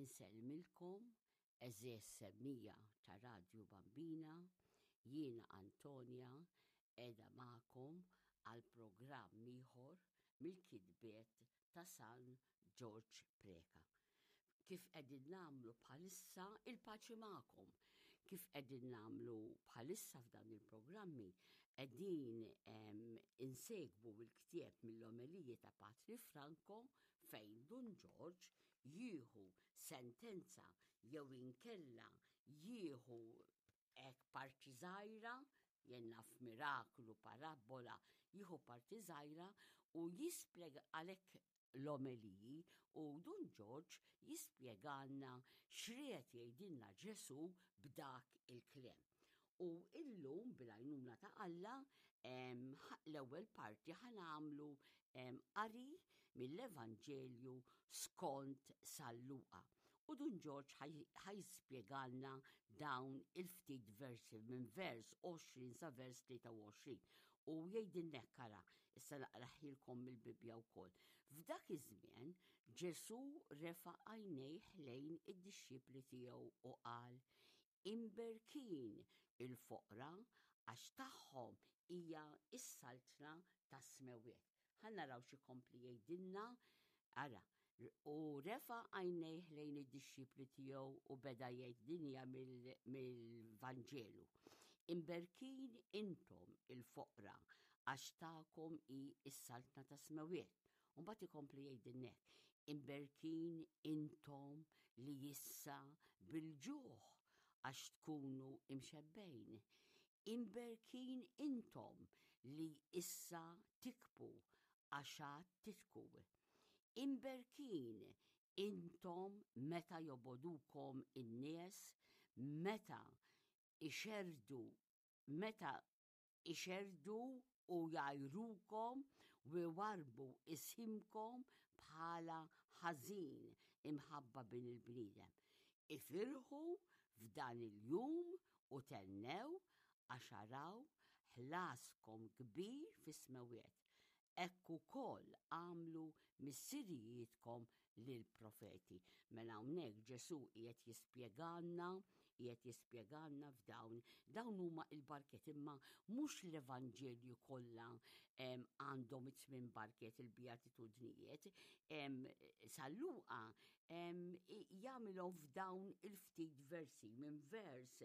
Insellmilkom għeżież semmija ta' Radju Bambina, jiena Antonia qiegħda magħkom għal programm ieħor mill-kitbiet ta' San Ġorġ Preca. Kif qegħdin nagħmlu bħalissa il-paċi magħkom. Kif qegħdin nagħmlu bħalissa f'dan il-programmi qegħdin insegwu l-ktieb mill-omeliji ta' Patri Franco fejn Dun Ġorġ jieħu sentenza jew inkella jieħu hekk parti żgħira jien naf miraklu, parabbola, jieħu parti żgħira u jispjega għalhekk l-omeliji u Dun Ġorġ jispjegalna x'ried jgħidilna Ġesù b'dak il-kliem. U illum bil-għajnuna ta' Alla l-ewwel parti ħa nagħmlu qari mill-Evanġelju skont San Luqa. U Dun Ġorġ ħa jispjegalna dawn il-ftit versi minn vers 20 sa vers 23. U jgħidilna hekk ara, issa naqraħilkom mill-Bibbja wkoll. F'dak iż-żmien Ġesù refa' għajnejh lejn id-dixxipli tiegħu u qal, Imberkin il-foqra għax tagħhom hija s-saltna tas-smewwiet. Ħa naraw x'ikompli jgħidilna, ara, u refa' għajnejh lejn id-dixxipli tiegħu u beda jgħid din hija mill-Vanġelu. Imberkin intom il-foqra għax tagħkom hi s-saltna tas-smewwiet. U mbagħad ikompli jgħidilna hekk, imberkin intom li issa bil-ġuħ għax tkunu imxebbejn. Imberkin intom li issa tikbu għax għad titku. Imberkin intom meta jobodukom in-nies, meta ixerdu meta ixerrdu u jgħajrukom u jwarrbu isimkom bħala ħażin imħabba bin il-bniedem. Ifirħu f'dan il-jum u thennew għax araw ħlaskom kbir fis-smewwiet. Hekk ukoll għamlu missirijietkom lill-profeti. Mela hawnhekk Ġesù qiegħed jispjegalna, qiegħed jispjegalna f'dawn, dawn huma il-barkiet imma mhux l-Evanġelju kollha għandhom it-tmien barkiet il-beatitudnijiet. San Luqa jagħmilhom f'dawn il-ftit versi minn vers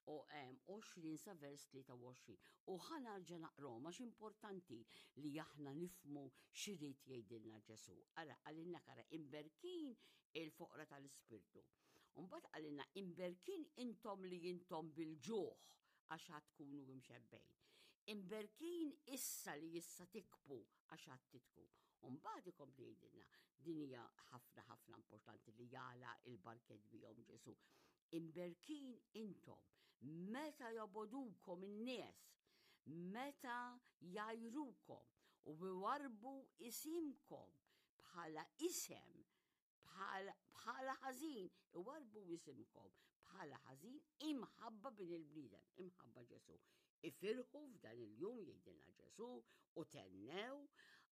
u 20 sa vers 23. U ħa narġa' naqrom għax importanti li aħna nifmu x'irid jgħidilna Ġesu. Ara qalilna kara imberkin il-foqra tal-ispirtu. Mbagħad qalilna imberkin intom li intom bil-ġuħ għax għad tkunu imxebbejn. Imberkin issa li issa tikbu għax għad titku. Mbagħad ikompli jgħidilna din hija ħafna ħafna importanti li jala il-barket bihom Ġesu. Imberkin intom meta jobodukom in-nies, meta jgħajrukom u jwarrbu isimkom bħala isem bħala ħażin, iwarrbu isimkom bħala ħażin imħabba bin il-bniedem, imħabba Ġesu. Ifirħu f'dan il-jum jgħidilna Ġesu u tennew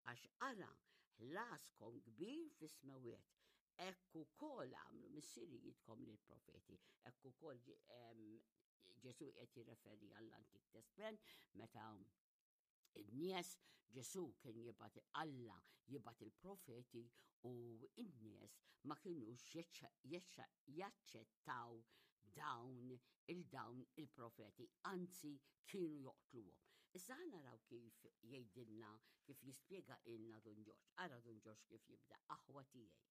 għax ara ħlaskom kbir fis-smewwiet. Hekk ukoll għamlu missirijietkom lill-profeti, hekk ukoll Ġesu qed jirreferi għall-Antik Testment meta in-nies Ġesu kien jibgħat Alla jibgħat il-profeti u n-nies ma kinux jaċċettaw dawn il-dawn il-profeti, anzi kienu joqtluhom. Issa ħa naraw kif jgħidilna, kif jispjega ilna Dun Ġorġ. Ara Dun Ġorġ kif jibda, aħwa tiegħi.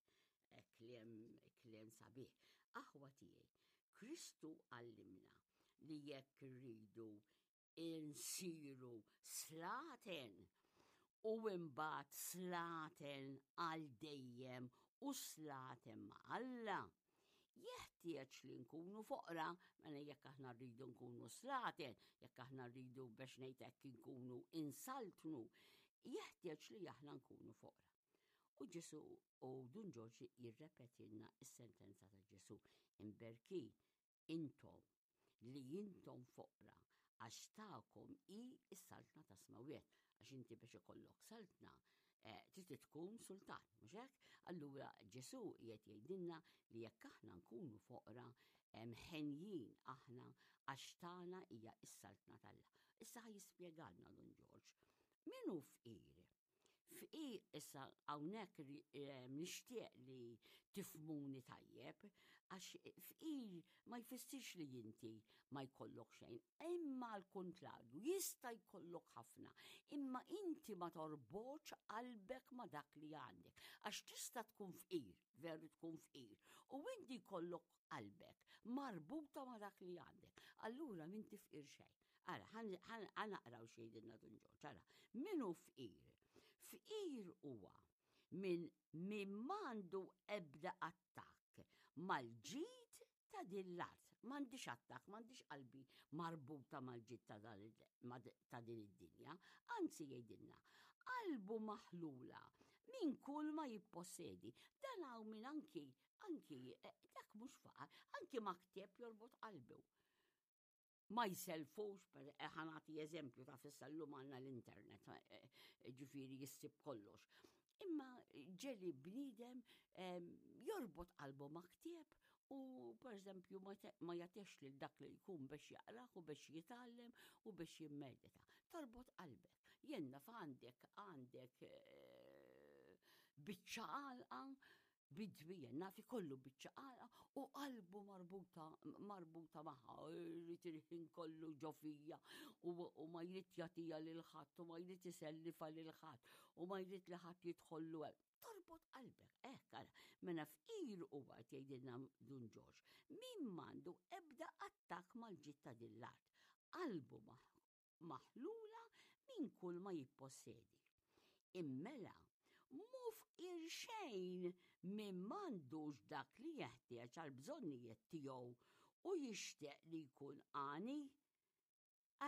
Eh, kliem, kliem sabiħ. Aħwa tiegħi, Kristu għallimna li jekk rridu insiru slaten u imbagħad slaten għal dejjem u slaten ma' Alla. Jeħtieġ li nkunu foqra, mela jekk aħna rridu nkunu slaten, jekk aħna rridu biex ngħid hekk inkunu insaltnu, jeħtieġ li aħna nkunu foqra. U Ġesu u Dun Ġorġ jirrepetilna s-sentenza ta' Ġesu, imberki intom li intom foqra għax tagħkom hi s-saltna tas-smewwiet. Għax inti biex ikollok saltna, Eh, trid tkun sultan, mhux hekk? Allura Ġesù qiegħed jgħidilna li jekk aħna nkunu foqra, ħenjin aħna għax tagħna hija s-saltna t'Alla. Issa ħa jispjegalna Dun Ġorġ. Min hu fqir? Fqir issa hawnhekk eh, nixtieq li tifmuni tajjeb għax fqir ma jfissirx li inti ma jkollok xejn, imma għal kuntrarju jista' jkollok ħafna, imma inti ma torbotx qalbek ma dak li għandek, għax tista' tkun fqir, veru tkun fqir, u inti jkollok qalbek marbuta ma dak li għandek. Allura m'inti fqir xejn. Ara, ħa naqraw x'jgħidilna Dun Ġorġ, ara, min hu fqir? Fqir huwa min min m'għandu ebda attakk mal-ġid ta' din l-art. M'għandix attakk, m'għandix qalbi marbuta mal-ġid ta' din id-dinja. Anzi jgħidilna, qalbu maħlula minn kull ma jippossedi. Dan hawn min anki, anki, eh, dak mhux faqar, anki ma ktieb jorbot qalbu. Ma jsellfux, eh, ħa nagħti eżempju ta' fissa llum għandna l-internet, eh, eh, ġifieri jissib kollox. Imma ġeli bniedem jorbot qalbu ma' ktieb u per eżempju ma jagħtix lil dak li jkun biex jaqrah u biex jitgħallem u biex jimmedita. Torbot qalbek. Jenna f'għandek għandek biċċa għalqa Bidwi naf ikollu biċċa għalqa u qalbu marbuta marbuta magħha, jrid il-ħin kollu ġo fija u ma jrid jagħtiha lil ħadd u ma jrid isellifa lil ħadd u ma jrid li ħadd jidħollu hemm. Torbot qalbek, hekk ara. Mela fqir huwa qed jgħidilna Dun Ġorġ, min m'għandu ebda attakk mal-ġid ta' din l-art. Qalbu maħlula minn kull ma jippossedi. Immela, mhu fqir xejn min m'għandux dak li jeħtieġ għall-bżonnijiet tiegħu u jixtieq li jkun għani.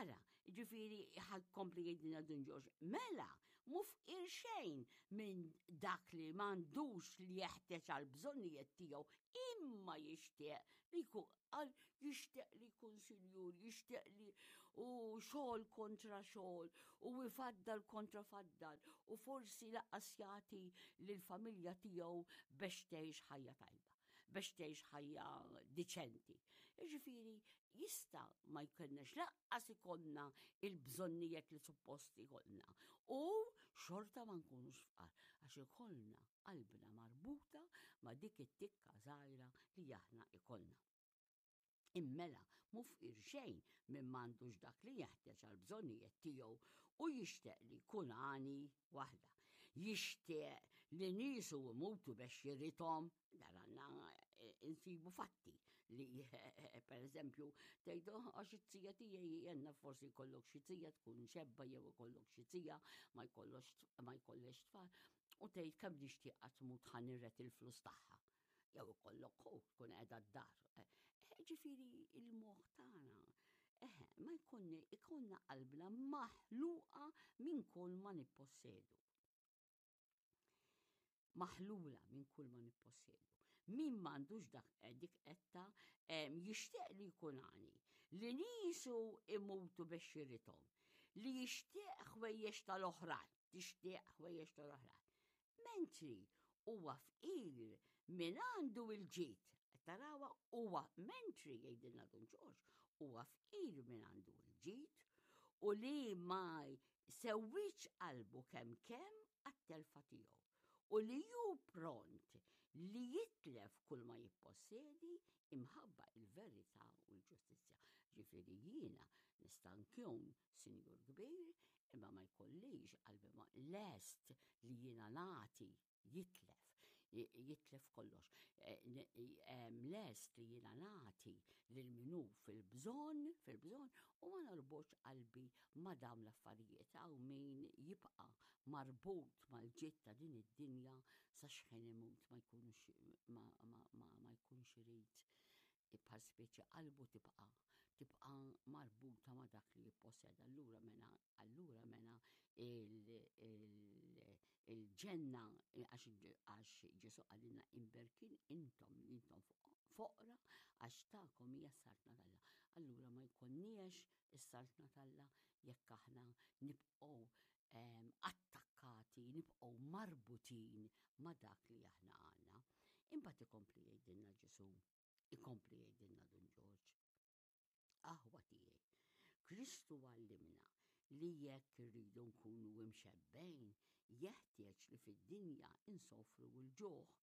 Ara, ġifieri ħa jkompli jgħidilna Dun Ġorġ, mela, mhu fqir xejn minn dak li m'għandux li jeħtieġ għall-bżonnijiet tiegħu imma jixtieq li jkun Qal jixtieq li jkun sinjur, jixtieq li u xogħol kontra xogħol u ifaddal kontra faddal u forsi laqqas jagħti lill-familja tiegħu biex tgħix ħajja tajba, biex tgħix ħajja diċenti. Jiġifieri jista' ma jkollniex laqqas ikollna il-bżonnijiet li suppost ikollna u xorta ma nkunux fqar għax ikollna qalbna marbuta ma' dik it-tikka żgħira li aħna ikollna. Immela mhu fqir xejn min m'għandux dak li jeħtieġ għall-bżonnijiet tiegħu u jixtieq li jkun għani waħda. Jixtieq li niesu jmutu biex jirithom, dan għandna eh, insibu fatti li per eżempju tgħid oh, għax it-tija tiegħi jenna forsi jkollok xi tija tkun xebba jew ikollok xi tija ma jkollox ma jkollex tfal u tgħid kemm nixtieqha tmut ħa nirret il-flus tagħha. Jew ikollok ħu tkun qiegħda d-dar. Eh, eh, ġifieri il-moħħ tagħna eh, ma jkun ikollna qalbna maħluqa minn kull ma nippossedu. Maħlula minn kull ma nippossedu. Min m'għandux dak dik etta jixtieq li jkun għani, li nisu imutu biex jirithom, li jixtieq ħwejjex tal-oħrajn tixtieq ħwejjeġ tal-oħrajn. Mentri huwa fqir min għandu il-ġid. Tarawa huwa mentri jgħidilna Dun Ġorġ, huwa fqir min għandu l-ġid u li ma sewwiċ qalbu kemm kemm għat-telfa tiegħu u li hu pront li jitlef kull ma jippossedi imħabba il-verità u l-ġustizzja. Ġifieri jiena nista' nkun sinjur kbir imma ma jkollix qalbi ma lest li jiena nagħti jitlef jitlef kollox. E, e, lest li jiena nagħti lil minu fil-bżonn, fil-bżonn u ma norbotx qalbi ma dawn l-affarijiet hawn min jibqa' marbut mal-ġid ta' din id-dinja sa xħin imut ma jkunux ma, ma, ma, ma jkunx irid bħal speċi qalbu tibqa' tibqa' marbuta ma' dak li jipposseda. Allura mena allura mena il-ġenna għax Ġesu qalilna imberkin intom li intom foqra għax tagħkom hija s-saltna t'Alla. Allura ma jkollniex is-saltna t'Alla jekk aħna nibqgħu ehm, attakkati. Importanti nibqgħu marbutin ma' dak li aħna għandna. Imbagħad ikompli jgħidilna Ġesù, ikompli jgħidilna Dun Ġorġ. Aħwa tiegħi, Kristu għallimna li jekk irridu nkunu imxebbgħin, jeħtieġ li fid-dinja insofru l-ġuħ.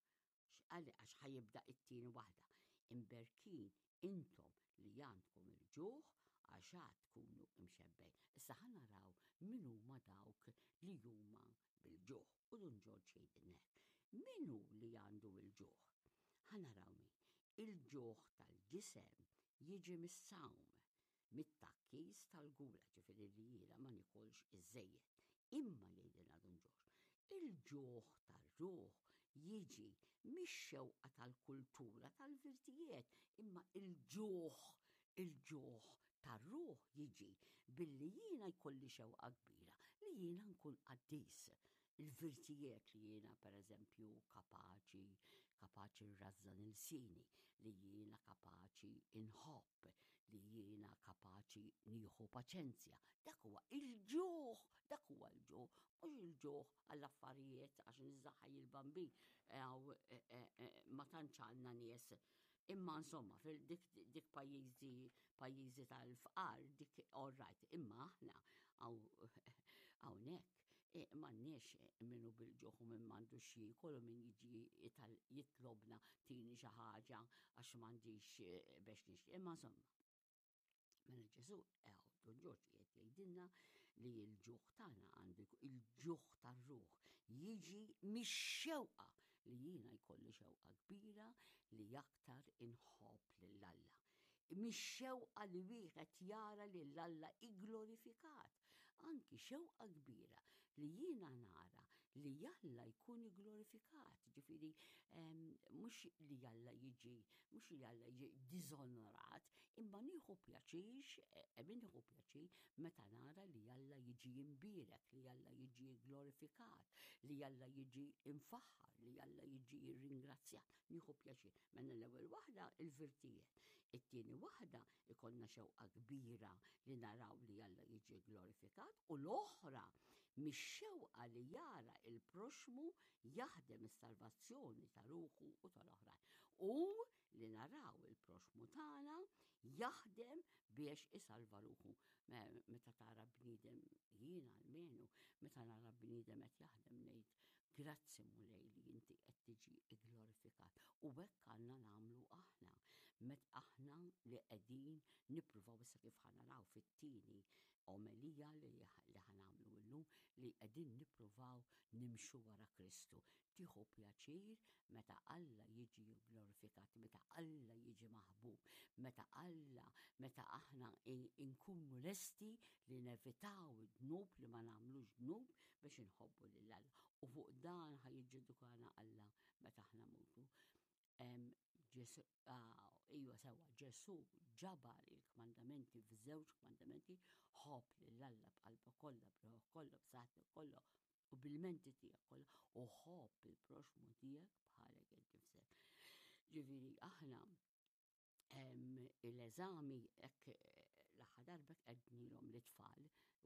X'qal għax ħa jibda it-tieni waħda. Imberkin intom li għandkom il-ġuħ għax għad tkunu imxebbgħin. Issa ħa naraw min huma dawk li huma bil-ġuħ. U Dun Ġorġ jgħidilna hekk. Min hu li għandu l-ġuħ? Ħa naraw min. Il-ġuħ tal-ġisem jiġi mis-sawm, mit-tgħakkis tal-gula, ġifieri li jiena ma nikolx iżżejjed. Imma jgħidilna Dun Ġorġ, il-ġuħ tar-ruħ jiġi mix-xewqa tal-kultura tal-virtijiet, imma il-ġuħ, il-ġuħ tar-ruħ jiġi billi jiena jkolli xewqa kbira li jiena nkun qaddis. Il-virtijiet li jiena pereżempju kapaċi, kapaċi nrażżan ilsieni, li jiena kapaċi inħobb, li jiena kapaċi nieħu paċenzja. Dak huwa il-ġuħ, dak huwa l-ġuħ, mhux il-ġuħ għall-affarijiet għax niżaħaj il-bambin eh, eh, eh, ma tantx għandna nies Imma insomma, fil-dik dik pajjiżi pajjiżi tal-fqar, dik all right, imma aħna hawnhekk e, m'għandniex minnu bil-ġuħ u minn m'għandux jiekol u min jiġi jitlobna tini xi ħaġa għax m'għandix e, biex nixtri. Imma insomma, Mela Ġesu ew Dun Ġorġ qiegħed jgħidilna li l-ġuħ tagħna għandu il-ġuħ tar-ruħ jiġi mix-xewqa li jiena jkolli xewqa kbira li aktar inħobb lil Alla. Mix-xewqa li wieħed jara lil Alla igglorifikat. Anki xewqa kbira li jiena nara li Alla jkun igglorifikat, ġifieri mhux li Alla jiġi, mhux li Alla jiġi diżonorat, imma nieħu pjaċir, e, min nieħu pjaċir meta nara li Alla jiġi imbierek, li Alla jiġi glorifikat, li Alla jiġi imfaħħar, li Alla jiġi ringrazzjat. Nieħu pjaċir. Mela l-ewwel waħda il-virtijiet. It-tieni waħda ikollna xewqa kbira li naraw li Alla jiġi glorifikat u l-oħra mix-xewqa li jara il-proxmu jaħdem is-salvazzjoni ta' ruħu u tal-oħrajn. U li naraw il-proxmu tagħna jaħdem biex isalva ruħu. Meta tara bniedem jiena almenu, meta nara bniedem qed jaħdem ngħid Grazzi Mulej li inti qed tiġi glorifikat. U hekk għandna nagħmlu aħna. Met aħna li qegħdin nippruvaw issa kif ħanaraw fit-tieni omelija li ħanamlu illum li qegħdin nippruvaw nimxu wara Kristu. Tieħu pjaċir meta Alla jiġi glorifikat, meta Alla jiġi maħbub, meta Alla, meta aħna nkunu lesti li nevitaw id-dnub li ma nagħmlux dnub biex inħobbu lil Alla. U fuq dan ħa jiġġudikana Alla meta aħna mutu. Ġesu, ah, iva sewa, Ġesu ġabar il-kmandamenti f'żewġ kmandamenti, ħobb lil Alla b'qalbek kollha, b'ruħek kollha, b'saħħtek kollha u bil-menti tiegħek kollha u ħobb il-proxmu tiegħek bħalek innifsek. Ġifieri aħna l-eżami hekk l-aħħar darba qednilhom l-itfal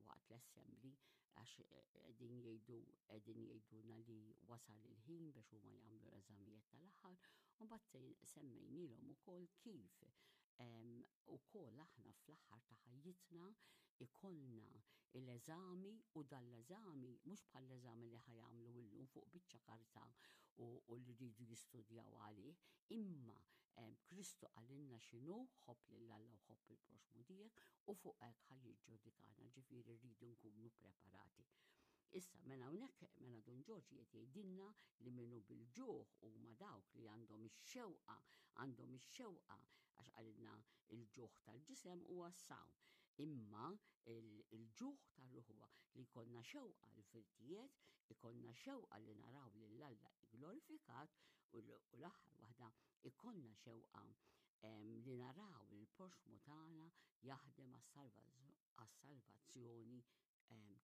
waqt l-assembly għax qegħdin jgħidu qegħdin jgħidulna li wasal il-ħin biex huma jagħmlu l-eżamijiet tal-aħħar u mbagħad semmejnilhom ukoll kif ukoll aħna fl-aħħar ta' ħajjitna ikollna l-eżami u dan l-eżami mhux bħall-eżami li ħa jagħmlu illum fuq biċċa karta u li rridu jistudjaw għalih, imma Kristu qalilna x'inhu ħobb lil Alla u ħobb il-proxmu tiegħek u fuq hekk ħa jiġġudikana, ġifieri rridu nkunu preparati. Issa, mela hawnhekk mela Dun Ġorġ qed jgħidilna li minnu bil-ġuħ huma dawk li għandhom ix-xewqa, għandhom ix-xewqa għax qalilna il-ġuħ tal-ġisem huwa s-sawm. Imma il-ġuħ tar-ruħ huwa li jkollna xewqa l-virtijiet, ikollna xewqa li naraw lil Alla glorifikat u l-aħħar waħda ikollna xewqa li naraw il-proxmu tagħna jaħdem għas-salvazzjoni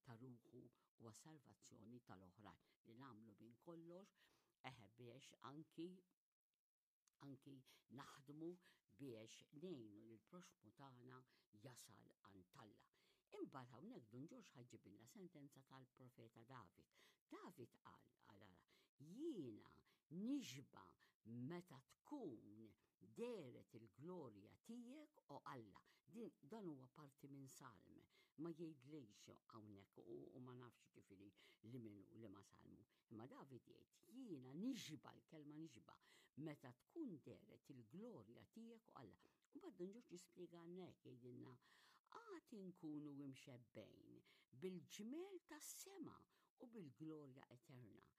ta' ruħu u għas-salvazzjoni tal-oħrajn li nagħmlu minn kollox eħe biex anki anki naħdmu biex ngħinu lil proxmu tagħna jasal għand Alla. Imbagħad hawnhekk Dun Ġorġ ħa jġibilna sentenza tal-profeta David. David qal, qal ara, jiena nixba meta tkun dehret il-glorja tiegħek o Alla. Din dan huwa parti minn salm, ma jgħidlix hawnhekk u, u ma nafx ġifieri li minnu li ma salmu. Imma David jgħid, jiena nixba l-kelma nixba meta tkun dehret il-glorja tiegħek o Alla. U mbagħad Dun Ġorġ jispjegalna hekk jgħidilna għad inkunu imxebbgħin bil-ġmiel tas-sema u bil-glorja eterna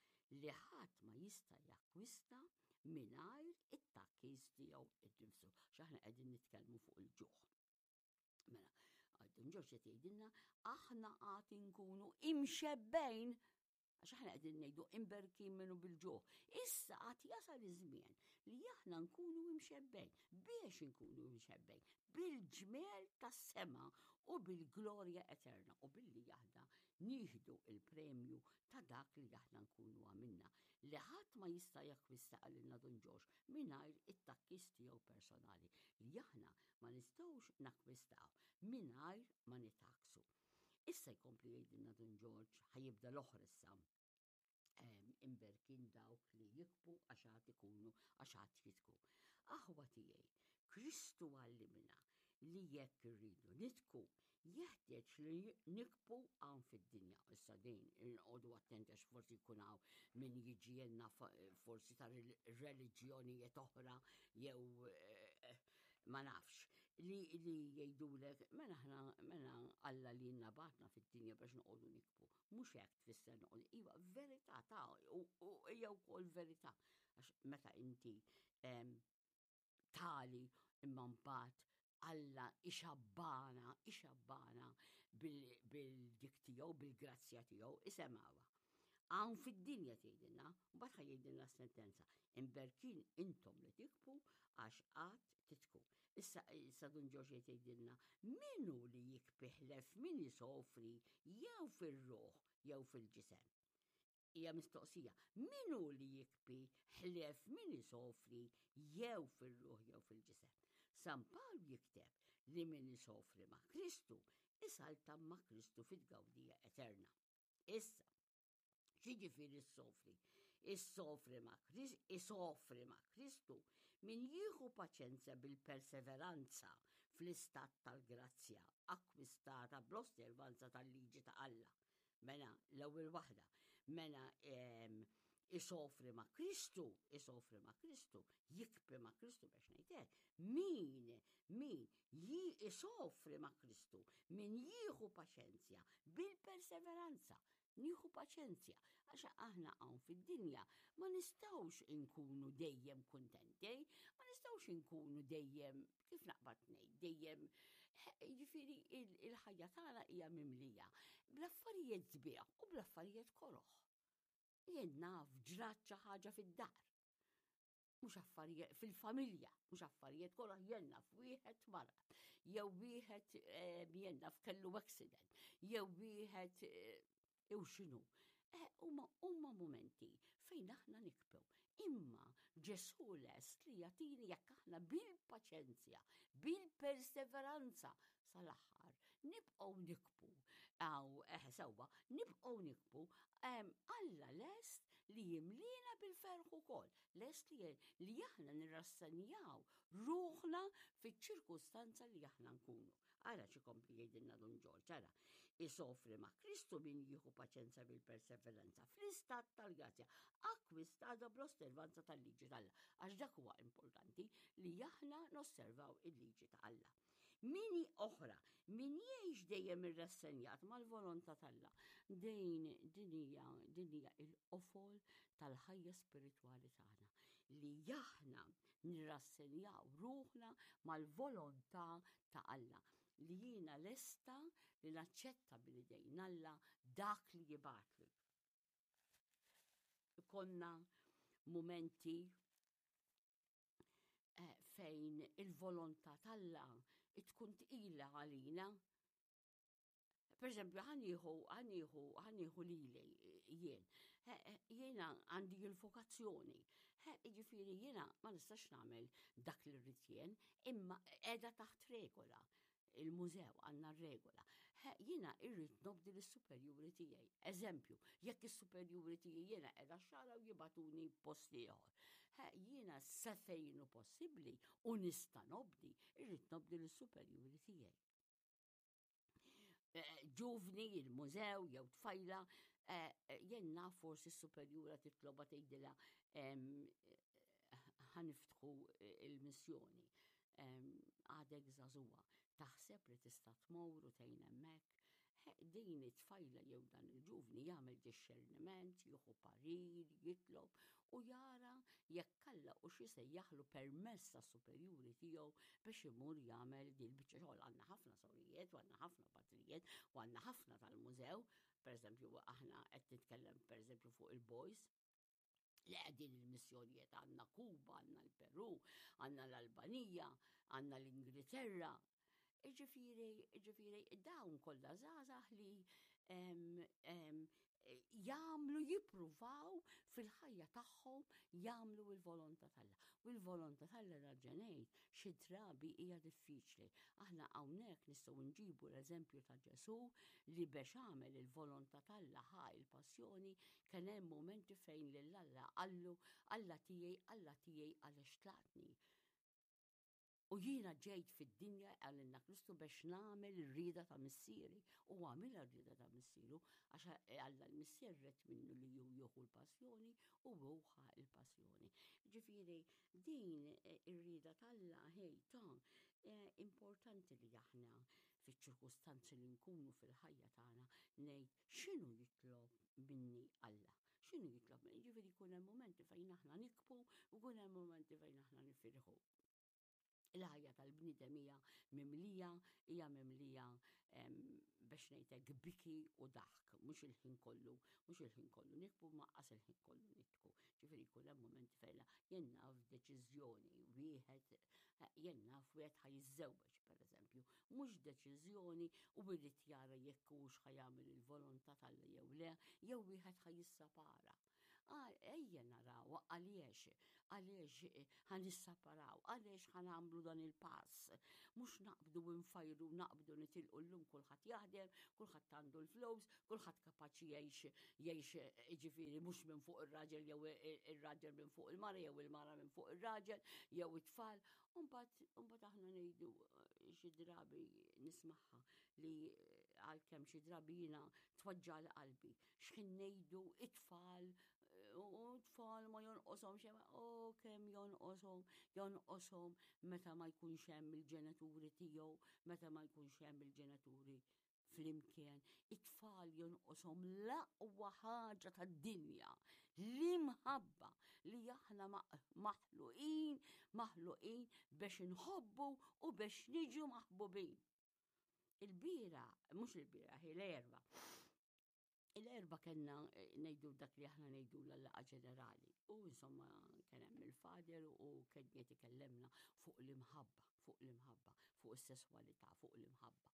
li ħadd ma jista' jakkwista mingħajr it-tgħakkis tiegħu innifsu, għax aħna qegħdin nitkellmu fuq il-ġuħ. Mela, Dun Ġorġ qed jgħidilna aħna għad inkunu imxebbgħin għax aħna qegħdin ngħidu imberkin minnu bil-ġuħ. Issa għad jasal iż-żmien li aħna nkunu imxebbgħin biex inkunu imxebbgħin bil-ġmiel tas-sema u bil-glorja eterna u billi aħna nieħdu il-premju ta' dak li aħna nkunu għamilna li ħadd ma jista' jakkwista qalilna Dun Ġorġ mingħajr it-takkis tiegħu personali li aħna ma nistgħux nakkwistaw mingħajr ma nitakksu. Issa jkompli jgħidilna Dun Ġorġ, ħa jibda l-oħra issa. Imberkin dawk li jikbu għax għad ikunu għax għad jitku. Aħwa tiegħi, Kristu għallimna li jekk irridu nitku, jeħtieġ li nikbu hawn fid-dinja. Issa din inqogħdu attenti għax forsi jkun hawn min jiġi forsi ta' reliġjonijiet oħra jew eh, ma nafx li li jgħidulek mela aħna mela Alla li nabatna fid-dinja biex noqogħdu nikbu. Mhux hekk tfisser noqogħdu. Iva, verità ta' u hija wkoll verità għax meta inti tali imma mbagħad Alla ixabbana, ixabbana bil-dik tiegħu, bil-grazzja tiegħu, isemgħuha. Hawn fid-dinja tgħidilna, mbagħad ħa jgħidilna s-sentenza, imberkin intom li tikbu għax qatt titku. Issa issa Dun Ġorġ qed jgħidilna min hu li jikbi ħlef min isofri jew fir-ruħ jew fil-ġisem. Hija mistoqsija, min hu li jikbi ħlief min isofri jew fir-ruħ jew fil-ġisem? San Pawl jikteb li min isofri ma' Kristu isaltan ma' Kristu fit-tgawdija eterna. Issa, x'jiġifieri ssofri? Issofri ma' Kristu, isofri ma' Kristu min jieħu paċenzja bil-perseveranza fl-istat tal-grazzja akkwistata bl-osservanza tal-liġi ta' Alla. Mela, l-ewwel waħda, mela isofri ma' Kristu, isofri ma' Kristu, jikbi ma' Kristu biex ngħid Min, min ji isofri ma' Kristu, min jieħu paċenzja bil-perseveranza, nieħu paċenzja, għax aħna hawn fid-dinja ma nistgħux inkunu dejjem kuntenti, ma nistgħux inkunu dejjem kif naqbad ngħid, dejjem jiġifieri il-ħajja tagħna hija mimlija bl-affarijiet sbieħ u bl-affarijiet koroh. Jien naf ġrat xi ħaġa fid-dar. Mhux affarijiet fil-familja, mhux affarijiet koroh jien naf wieħed marad, jew wieħed eh, jien naf kellu accident, jew wieħed eh, jew x'inhu. Eh, huma huma mumenti fejn aħna nikbew. Imma Ġesù lest li jagħtini jekk aħna bil-paċenzja, bil-perseveranza sal-aħħar, nibqgħu nikbu, aw eh, sewwa, nibqgħu nikbu, Alla lest li jimlina bil-ferħ ukoll, lest li li aħna nirrassenjaw ruħna fiċ-ċirkustanza li aħna nkunu. Ara x'ikompli jgħidilna Dun Ġorġ, ara. Isofri ma' Kristu min jieħu paċenza bil-perseveranza fl-istat tal-grazzja, akkwistata bl-osservanza tal-liġi t'Alla. Għax dak huwa importanti li aħna nosservaw il-liġi ta' Alla. Mini oħra, min jgħix dejjem irrassenjat mal-volontà t'Alla. Din din hija din hija il-qofol tal-ħajja spiritwali tagħna li aħna nirrassenjaw ruħna mal-volontà ta' Alla li jiena lesta li naċċetta minn idejn Alla dak li jibgħatli. Ikollna mumenti eh, fejn il-volontà t'Alla tkun tqila għalina Per eżempju, ħanieħu, ħanieħu, ħanieħu lili jien. Jiena għandi l-vokazzjoni. Jiġifieri jiena ma nistax nagħmel dak li rrid jien, imma qiegħda taħt regola. Il-mużew għandna regola. Jiena irrid nobdi lis-superjuri tiegħi. Eżempju, jekk is-superjuri tiegħi jiena qiegħda xara u jibatuni post ieħor. Jiena sa fejn hu possibbli u nista' nobdi, irrid nobdi lis-superjuri tiegħi. Eh, ġuvni, il-mużew jew tfajla, eh, eh, jenna forsi s-superjura titloba tgħidilha ħaniftħu il-missjoni. Għadek żagħżugħa, taħseb li tista' tmur u tgħin hemmhekk? Din it-tfajla jew dan il-ġuvni jagħmel dixxerniment, jieħu parir, jitlob u jara jekk Alla hux isejjaħlu permezz tas-superjuri tiegħu biex imur jagħmel din il-biċċa xogħol. Għandna ħafna sorijiet u għandna ħafna patrijiet u għandna ħafna tal-mużew, pereżempju aħna qed nitkellem pereżempju fuq il-boys li qegħdin il-missjonijiet għandna Kuba, għandna l-Peru, għandna l-Albanija, għandna l-Ingilterra. Ġifieri, ġifieri, dawn kollha żgħażagħ li jagħmlu jippruvaw fil-ħajja tagħhom jagħmlu l-volontà t'Alla. U l-volontà t'Alla raġenejt xi drabi hija diffiċli. Aħna hawnhekk nistgħu nġibu l-eżempju ta' Ġesù li biex għamel il-volontà t'Alla ħa il-passjoni kien hemm mumenti fejn lil Alla qallu Alla tiegħi, Alla tiegħi għaliex tlaqtni. U jiena ġejt fid-dinja għalilna Kristu biex nagħmel ir-rieda ta' missieri. U għamilha r-rieda ta' missieru għax Alla l-missier ret minnu li hu jieħu l-passjoni u hu ħa l-passjoni. Ġifieri din eh, ir-rieda t'Alla ħej ta' eh, importanti li aħna fiċ-ċirkustanzi li nkunu fil-ħajja tagħna ngħid x'inhu jitlob minni Alla. X'inhu jitlob minni? Ġifieri jkun hemm mumenti fejn aħna nikbu u jkun hemm mumenti fejn aħna nifirħu. Il-ħajja tal-bniedem hija mimlija, hija mimlija biex ngħidlek biki u daħk, mhux il-ħin kollu, mhux il-ħin kollu nikbu ma qas il-ħin kollu nitku. Ġifieri jkun hemm mumenti fejn jien naf deċiżjoni wieħed jien naf wieħed ħa jiżżewweġ pereżempju, mhux deċiżjoni u jrid jara jekk hux ħa jagħmel il-volontà t'Alla jew le, jew wieħed ħa jissapara. Ejja naraw għaliex, għaliex eh, ħa nissaparaw, għaliex ħa nagħmlu dan il-pass. Mhux naqbdu nfajru, naqbdu nitilqu llum kulħadd jaħdem, kulħadd għandu l-flus, kulħadd kapaċi jgħix jgħix eh, ġifieri mhux minn fuq ir-raġel jew ir-raġel minn fuq il-mara jew il-mara minn fuq ir-raġel jew it-tfal. Umbagħad aħna ngħidu eh, xi drabi nismagħha li għalkemm xi drabi jiena tweġġa' qalbi x'ħin ngħidu it-tfal u tfal ma jonqoshom xejn, o kemm jonqoshom, jonqoshom meta ma jkunx hemm il-ġenituri tiegħu, meta ma jkunx hemm il-ġenituri flimkien. It-tfal jonqoshom l-aqwa ħaġa tad-dinja, l-imħabba li aħna maħluqin, maħluqin biex inħobbu u biex niġu maħbubin. Il-bira, mhux il-bira, hi l-erba. Il-erba kellna eh, ngħidu dak li aħna ngħidu l-laqa ġenerali. U insomma kien hemm il-fader u kien qed ikellemna fuq l-imħabba, fuq l-imħabba, fuq is-sesswalità, fuq l-imħabba.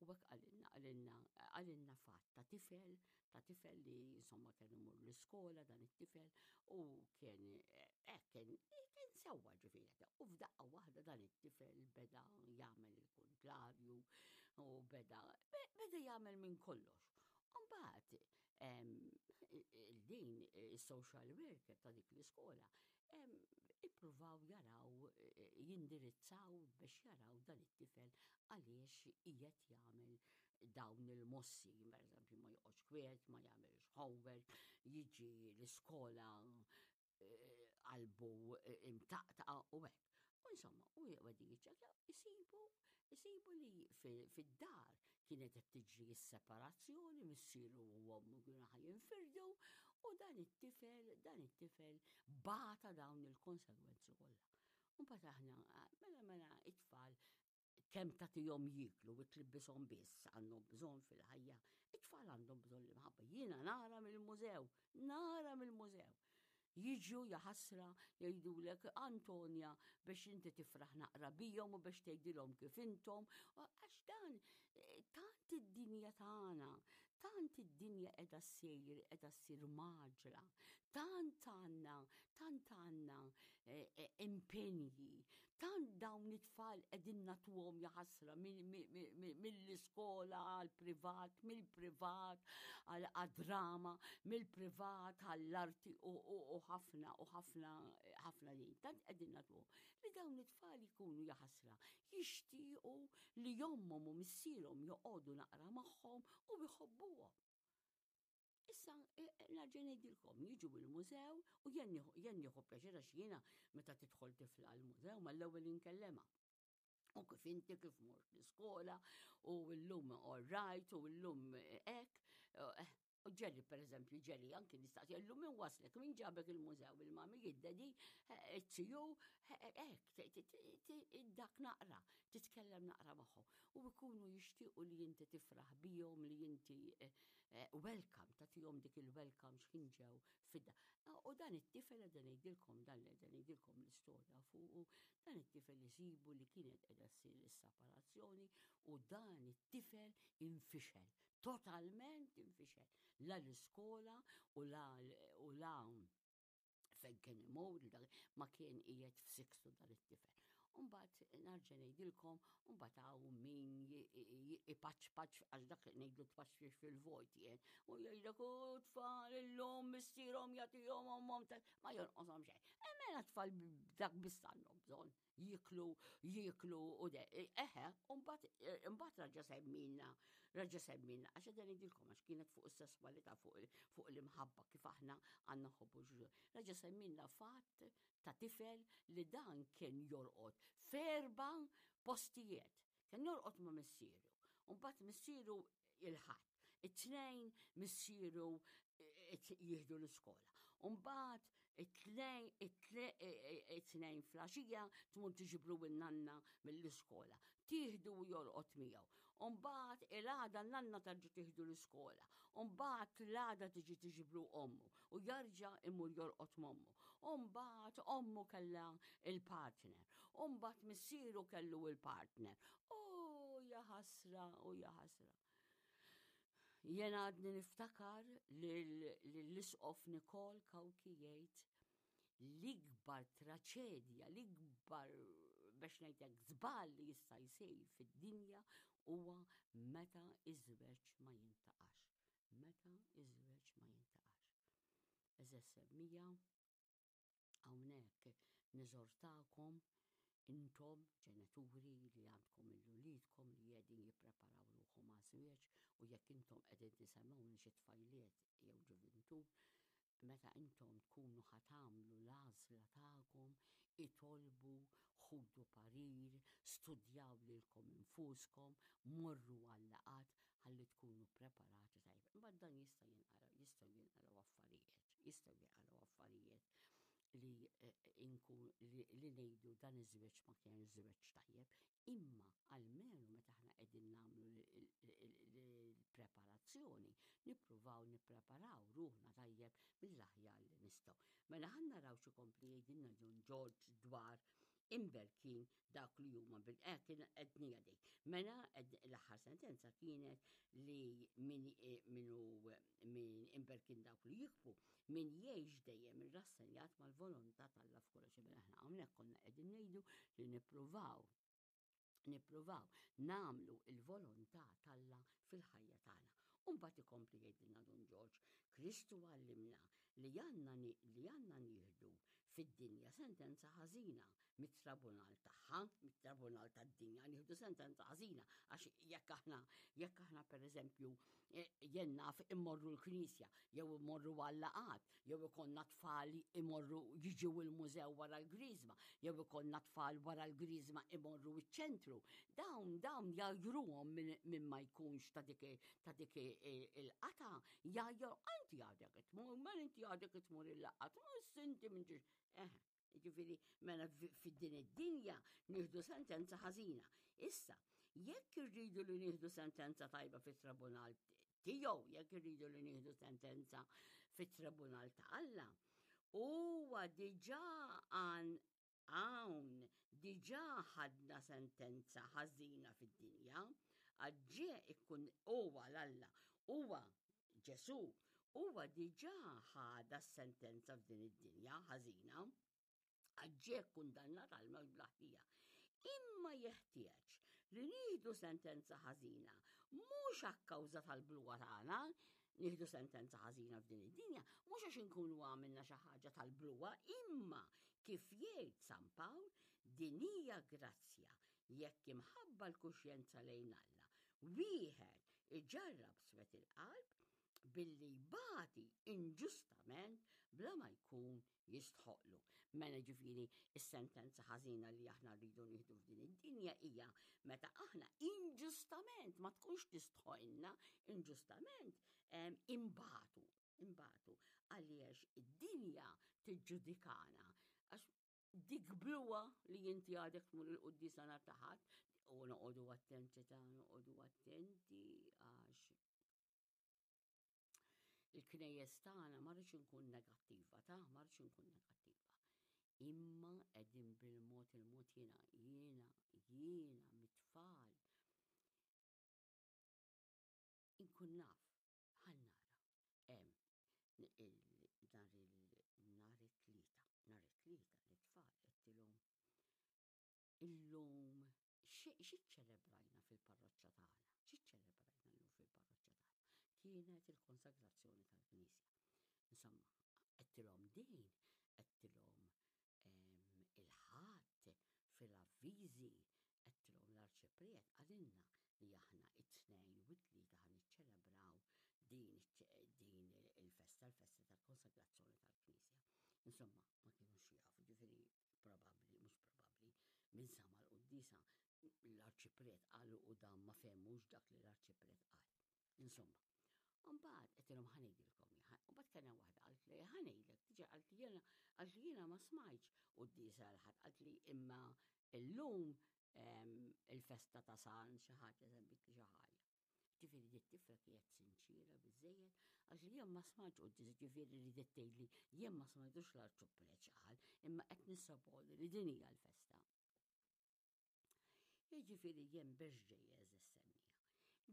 U hekk qalilna, qalilna, qalilna fatt ta' tifel, ta' tifel li insomma kien imur l-iskola dan it-tifel u kien eh, kien kien sewwa ġifieri. U f'daqqa waħda dan it-tifel beda jagħmel il-kontlarju u beda beda jagħmel minn kollox. Mbagħad din is-social worker ta' dik l-iskola ippruvaw jaraw eh, jindirizzaw biex jaraw dan it-tifel għaliex qiegħed jagħmel dawn il-mossi, per eżempju ma joqgħodx kwiet, ma jagħmilx homework, jiġi l-iskola eh, qalbu eh, imtaqtaqa u hekk. U insomma, u għedin jiċċekjaw, isibu, isibu li fid-dar kienet qed tiġri s-separazzjoni, missieru u ommu kienu ħa jinfirdu, u dan it-tifel, dan it-tifel bata dawn il-konsegwenzi kollha. Mbagħad aħna, mela mela it-tfal kemm tagħtihom jieklu u tlibbishom biss għandhom bżonn fil-ħajja. It-tfal għandhom bżonn l-imħabba. Jiena nara mill-mużew, nara mill-mużew. Jiġu jaħasra jgħidulek Antonia biex inti tifraħ naqra bijom u biex tgħidilhom kif intom. Għax dan eh, tant id-dinja tagħna, tant id-dinja qiegħda ssir, qiegħda ssir maġla, tant għandna, tant għandna eh, eh, impenji, tant dawn Dawn it-tfal qegħdin nagħtuhom jaħasra mill-iskola għall-privat, mill-privat għad-drama, mill-privat għall-arti u ħafna u ħafna ħafna din. Tant qegħdin nagħtuhom li dawn it-tfal ikunu jaħasra jixtiequ li ommhom u missierhom joqogħdu naqra magħhom u jħobbuhom. Issa, e, e, narġa' ngħidilkom, jiġu il-mużew u jien nieħu pjaċir għax jiena meta tidħol tifla l-mużew mal-ewwel inkellema. U kif inti kif mort l-iskola u llum all right u llum hekk. E, u ġeli, per eżempju, ġeli, anki nistaqsi, llum min waslek, min ġabek il-mużew, il-mami, id-dedi, it-tiju, hekk, dak naqra, titkellem naqra magħhom. U jkunu jixtiequ li inti tifraħ bihom, li inti eh, welcome, tagħtihom dik il-welcome x'ħin ġew fidda. U dan it-tifel qed ngħidilkom dan li qed ngħidilkom l-istorja fuqu, dan it-tifel isibu li kienet qiegħda ssir is-separazzjoni u dan it-tifel infixel, totalment infixel. La l-iskola u la u la fejn kien imur, ma kien qiegħed f'sikstu dan it-tifel. Umbagħad narġa' ngħidilkom, umbagħad hawn min ipaċpaċ għax dak ngħidlu tpaċpaċ fil-vojt jien. U jgħidlek u tfal illum missierhom jagħtihom ommhom ma jonqoshom xejn. E mela tfal dak biss għandhom bżonn jiklu, jiklu u de. Eħe, mbagħad raġa' semmilna, raġa' semmilna, għax qed ngħidilkom għax kienet fuq is-sesswalità fuq l-imħabba kif aħna għandna nħobbu Raġa' semmilna fatt ta' tifel li dan kien jorqod f'erba' postijiet. Kien jorqod ma' missieru. U mbagħad missieru il-Ħadd. It-Tnejn missieru jieħdu l-iskola. U mbagħad it-tnejn it-tnejn flaxija tmur tiġibru n-nanna mill-iskola. Tieħdu u jorqod miegħu. U mbagħad il-għada n-nanna tarġa' tieħdu l-iskola. U mbagħad l-għada tiġi tiġibru ommu u jarġa' imur jorqod m'ommu. U mbagħad ommu kellha il-partner. U mbagħad missieru kellu il-partner. U ja ħasra, u ja ħasra. Jena għadni niftakar l-isqof Nikol Kawki jgħid l-ikbar traċedja, l-ikbar biex ngħidlek żball li jista' jsir fid-dinja huwa meta iż-żwieġ ma jintaqax. Meta iż-żwieġ ma jintaqax. Eżeż semmija hawnhekk niżortakom intom ġenituri li għandkom il-uliedkom li qegħdin jippreparaw ruħhom għaż-żwieġ u jekk intom qegħdin tisemgħuni xi tfajliet jew ġuvintur, meta intom tkunu ħa tagħmlu l-għażla tagħkom, itolbu, ħudu parir, studjaw lilkom infuskom, morru għal-laqgħat ħalli tkunu preparati tajjeb. Imbagħad dan jista' jinqara, jistgħu jinqalgħu affarijiet, jistgħu jinqalgħu affarijiet li eh, inkun li, li ngħidu dan iż-żwieġ ma kien żwieġ tajjeb, imma almenu meta aħna qegħdin nagħmlu l-preparazzjoni, nippruvaw nippreparaw ruħna tajjeb mill-aħjar li nistgħu. Mela ħa naraw xi kompli jgħidilna John George dwar imberkin dak li huma bil eh, kien qednija dik. Mela l-aħħar sentenza kienet li min eh, minu min imberkin dawk li jikbu, min jgħix dejjem irrassenjat mal-volontà t'Alla f'kollox. Mela aħna hawnhekk konna qegħdin ngħidu li nippruvaw nippruvaw nagħmlu il-volontà t'Alla fil-ħajja tagħna. U mbagħad ikompli jgħidilna Dun Ġorġ, Kristu għallimna li għandna li għandna nieħdu fid-dinja sentenza ħażina mit-tribunal tagħha, mit-tribunal tad-dinja, nieħdu sentenza ħażina għax jekk aħna jekk aħna pereżempju eh, jien naf immorru l-knisja jew immorru għal-laqat, jew ikollna tfal imorru jiġu il-mużew wara l-griżma, jew ikollna tfal wara l-griżma imorru iċ-ċentru. Dawn dawn jgħajruhom minn ma jkunx ta' dik ta' dik il-qata, jgħajru inti għadek tmur, ma inti għadek tmur il-laqat, ma inti minn ġiex. Eh, Ġifieri, mela fid-din id-dinja nieħdu sentenza ħażina. Issa, jekk irridu li nieħdu sentenza tajba fit-tribunal tiegħu, jekk irridu li nieħdu sentenza fit-tribunal ta' Alla, huwa diġà għan hawn diġà ħadna sentenza ħażina fid-dinja, għaġġie ikkun huwa l-Alla, huwa Ġesù huwa diġà ħadha s-sentenza f'din id-dinja ħażina, għax ġie kkundannat għall-mewt bla ħtija. Imma jeħtieġ li nieħdu sentenza ħażina mhux akkawża tal-bluwa tagħna, nieħdu sentenza ħażina f'din id-dinja, mhux għax inkunu għamilna xi ħaġa tal-bluwa, imma kif jgħid San Pawl, din hija grazzja jekk imħabba l-kuxjenza lejn Alla. Wieħed iġarrab swet il-qalb billi jbati inġustament bla ma jkun jistħoqlu. Mela ġifieri is-sentenza ħażina li aħna rridu nieħdu f'din id-dinja hija meta aħna inġustament ma tkunx tistħoqilna, inġustament imbatu, imbatu għaliex id-dinja tiġġudikana għax dik bluwa li inti għadek tmur il-quddiesa nhar ta' Ħadd u noqogħdu attenti ta' noqogħdu attenti għax il-knejjes tagħna ma rridx inkun negattiva, ta' ma rridx inkun negattiva. Imma qegħdin bil-mod il-mod jiena jiena jiena mit-tfal inkun naf ħa nara. Hemm nhar il-nhar it-tlieta, nhar it-tlieta lit-tfal għedtilhom illum xi ċċelebrajna fil-parroċċa tagħna? Xi ċċelebrajna llum fil-parroċċa tagħna? Kienet il-konsagrazzjoni tal-Knisja. Insomma, għedtilhom din, għedtilhom il-Ħadd fil-avviżi, għedtilhom l-Arċipriet qalilna li aħna it-tnejn u t-tlieta ħa niċċelebraw din din il-festa, l-festa tal-konsagrazzjoni tal-Knisja. Insomma, ma kienux jafu, ġifieri probabbli, mhux probabbli, min sama l-quddiesa l-arċipriet qalu u dan ma fehmux dak li l-arċipriet qal. Insomma, Mbagħad qed ilhom ħa ngħidilkom, mbagħad kellna waħda qalt li ħa ngħidlek, diġà qalt li jiena qalt li jiena ma smajtx quddiesa l-Ħadd, qalt li imma illum il-festa ta' San xi ħaġa semmit li xi ħaġa. Ġifieri di t-tifla kienet sinċiera biżejjed għax li jien ma smajtx quddiesa, ġifieri li tgħidli jien ma smajtux l-arċupreċ qal, imma qed nissoponi li din hija l-festa. Jiġifieri jien biex ġejja eżis semmija.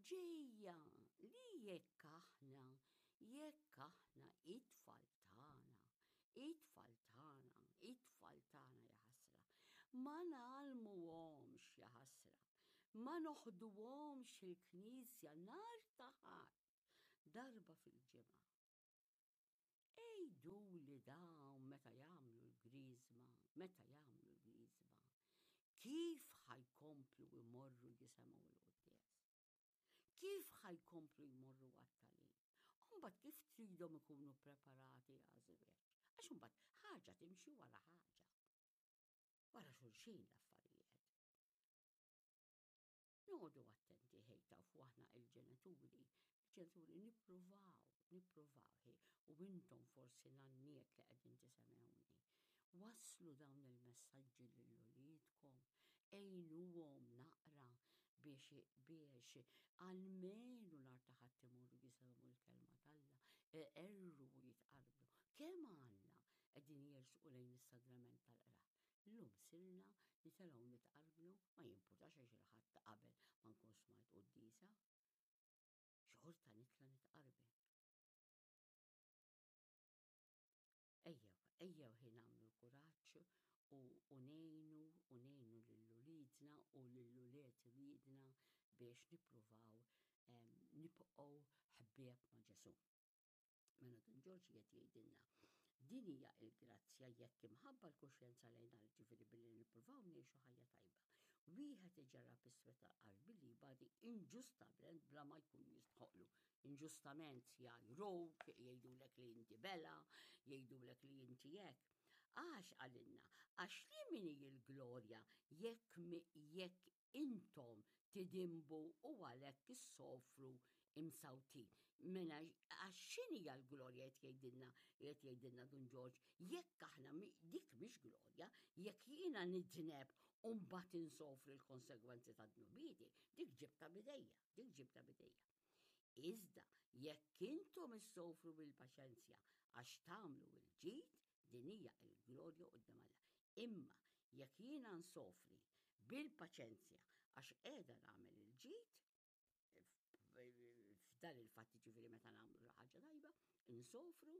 Ġejja li jekk aħna, jekk aħna it-tfal tagħna, it-tfal tagħna, it-tfal tagħna jaħasra, ma ngħallmuhomx jaħasra, ma noħduhomx il-knisja nhar ta' Ħadd, darba fil-ġimgħa. Għiduli dawn meta jagħmlu l-griżma, meta jagħmlu l-griżma, kif ħa jkomplu jmorru jisemgħu l-quddies? Kif ħa jkomplu jmorru għat-tagħlim? U mbagħad kif tridhom ikunu preparati għaż-żwieġ? Għax imbagħad ħaġa timxi wara ħaġa. Wara xulxin l-affarijiet. Noqogħdu attenti ħej tafu aħna il-ġenituri, il-ġenituri nippruvaw, nippruvaw ħej, u intom forsi nanniet li qegħdin tisemgħuni. Wasslu dawn il-messaġġi lil uliedkom, għinuhom naqra biex biex almenu nhar ta' Ħadd imorru jisimgħu l-kelma t'Alla, iqerru u jitqarbnu. Kemm għandna qegħdin jersqu lejn is-sagrament tal-qrar. Illum sirna nitelgħu nitqarbnu, ma jimpurtax għax il-Ħadd ta' qabel ma nkun smajt quddiesa, xorta nitla' nitqarben. Ejjew, ejjew ħi nagħmlu l-kuraġġ u u ngħinu u ngħinu lil uliedna u lil ulied uliedna biex nippruvaw nibqgħu ħbieb ma' Ġesù. Mela Dun Ġorġ qiegħed jgħidilna, din hija l-grazzja jekk imħabba l-kuxjenza lejn Alla, ġifieri billi nippruvaw ngħixu ħajja tajba. Wieħed iġarrab is-swed tal-qalb billi jbati inġustament bla ma jkun jistħoqlu. Inġustament jgħajruk, jgħidulek li inti bela, jgħidulek li inti hekk. Għax qalilna, għax li min hi l-glorja jekk jekk intom tidinbu u għalhekk issofru imsawtin. Mela għax x'inhija l-glorja qed jgħidilna qed jgħidilna Dun Ġorġ, jekk aħna dik mhix glorja, jekk jiena nidneb u mbagħad insofri l-konsegwenzi ta' dnubieti, dik ġibta bidejja, dik ġibta bidejja. Iżda jekk intom issofru bil-paċenzja għax tagħmlu l-ġid, din hija l-glorja quddiem Alla. Imma jekk jiena nsofri bil-paċenzja għax qiegħda nagħmel il-ġid, f'dan il-fatt ġifieri meta nagħmlu xi ħaġa tajba, insofru,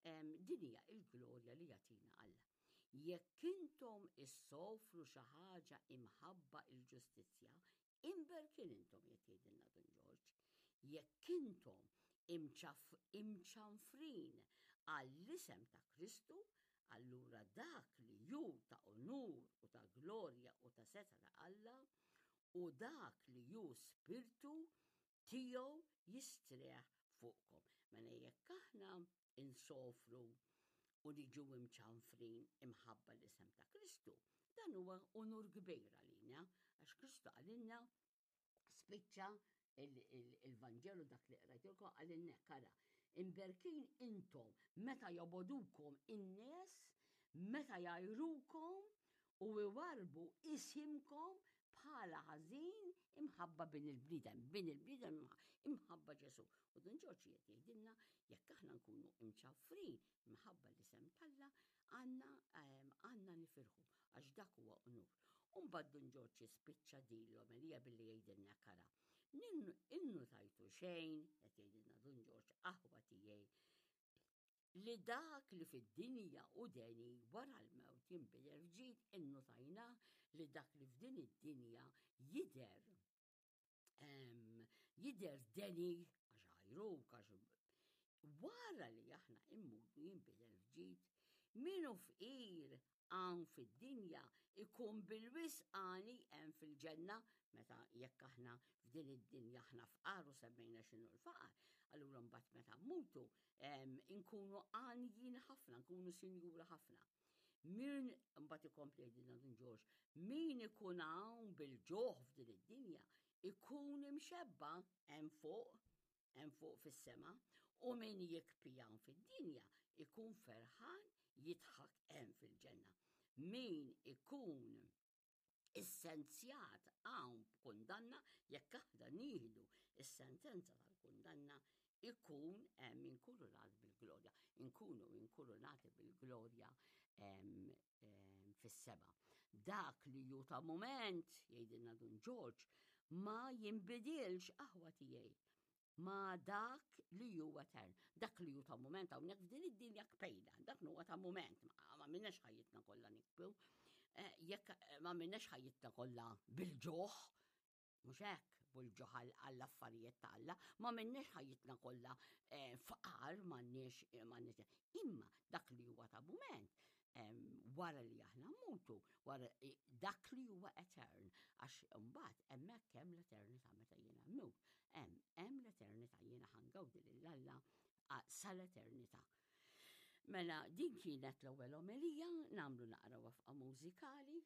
din hija l-glorja li jagħtina Alla. Jekk intom issofru issofru xi ħaġa imħabba il-ġustizzja, imberkin intom qed jgħidilna Dun Ġorġ. Jekk intom imċanfrin għall-isem ta' Kristu, allura dak li hu ta' unur u ta' glorja u ta' setgħa ta' Alla u dak li hu spirtu tiegħu jistrieħ fuqkom. Mela jekk aħna insofru u niġu imċanfrin imħabba l-isem ta' Kristu, dan huwa unur kbir għalina, għax Kristu qalilna spiċċa il-Vanġelu dak li qrajtilkom qalilna hekk ara. Imberkin intom meta jobodukom in-nies, meta jgħajrukom u iwarrbu isimkom bħala ħażin imħabba bin il-bniedem, bin il-bniedem imħabba Ġesù. U Dun Ġorġ qed jgħidilna jekk aħna nkunu imċaffrin imħabba l-isem t'Alla għandna ehm, għandna nifirħu għax dak huwa unur. U mbagħad Dun Ġorġ jispiċċa din l-omelija billi jgħidilna kara. Innu tajtu xejn, qed jgħidilna Dun Ġorġ aħwa tiegħi li dak li fid-dinja hu deni wara l-mewt jinbidel f'ġid innutajna li dak li f'din id-dinja jidher jidher deni għax għajruk għax wara li aħna immutu jinbidel f'ġid min hu fqir hawn fid-dinja ikun bil-wisq għani hemm fil-ġenna meta jekk aħna f'din id-dinja aħna fqar u semmejna x'inhu l-faqar, allura mbagħad meta mmutu inkunu għanjin ħafna, nkunu sinjura ħafna. Min mbagħad ikompli jgħidilna Dun Ġorġ, min ikun hawn bil-ġuħ f'din id-dinja ikun imxebba hemm fuq hemm fuq fis-sema, u min jikpi hawn fid-dinja ikun ferħan jidħak hemm fil-ġenna. Min ikun issenzjat hawn b'kundanna, jekk aħna nieħdu is-sentenza tal-kundanna, ikun hemm inkurunat bil-glorja. Inkunu inkurunati bil-glorja fis-sema. Dak li ju ta' mument, jgħidilna Dun Ġorġ, ma jinbidilx aħwa tiegħi ma dak li huwa etern. Dak li hu ta' mument hawnhekk f'din id-dinja kpejna, dak huwa ta' mument, ma minnex ħajjitna kollha nikbu. Eh, jekk eh, ma minnex ħajjitna kollha bil-ġuħ, Mhux hekk, bil-ġuħ għall-affarijiet ta' Alla, ma minniex ħajjitna kollha eh, faqar m'għandniex eh, m'għandniex. Imma dak li huwa ta' mument wara li aħna mmutu, wara eh, dak li huwa etern, għax imbagħad hemmhekk hemm l-eternità meta jiena mmut, hemm hemm l-eternità jiena ħangawdi lil Alla sal-eternità. Mela din kienet l-ewwel omelija, nagħmlu naqra wafqa mużikali.